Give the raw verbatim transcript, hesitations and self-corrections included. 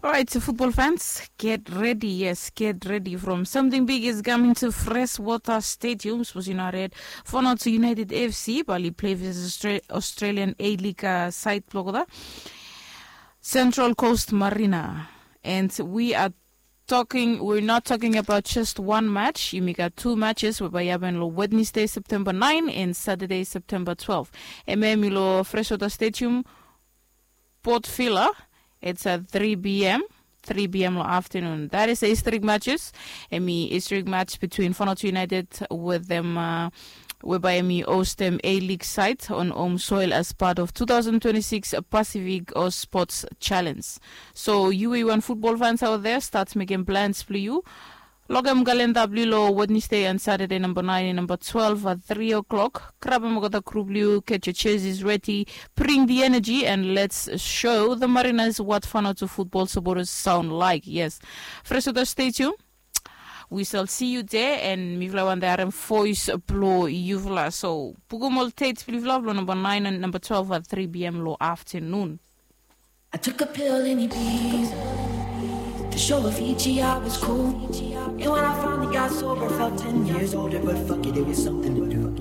Alright, so football fans, get ready. Yes, get ready from something big is coming to Freshwater Stadium. Suppose you know red. Fanato United F C, bali play versus Australian A-League uh, side blogger. Central Coast Marina. And we are talking, we're not talking about just one match. Yumi gat two matches, we bai happen lo Wednesday, September nine and Saturday, September twelve. Eme yumi lo Freshwater Stadium, Port Vila, it's at three p.m. three p.m. lo afternoon. That is a historic matches. Emi historic match between Fanato United with them uh, whereby emi host them A-League side on home soil as part of two thousand twenty-six Pacific or Sports Challenge. So you we want football fans out there, start making plans for you. Logem kalenda bli lo Wednesday and Saturday number nine and number twelve at three o'clock. Grab a mogota group liu, get your jerseys ready, bring the energy and let's show the Mariners what Fanato football supporters sound like. Yes. Freshwater Stadium. We shall see you there and mifla wanta harem voice blo yufla. So bukum ol dates blo yufla blo number nine and number twelve at three p.m. lo afternoon. I took a pill in Ibiza to show Avicii I was cool. And when I finally got sober, felt ten years older, but fuck it, it was something to do.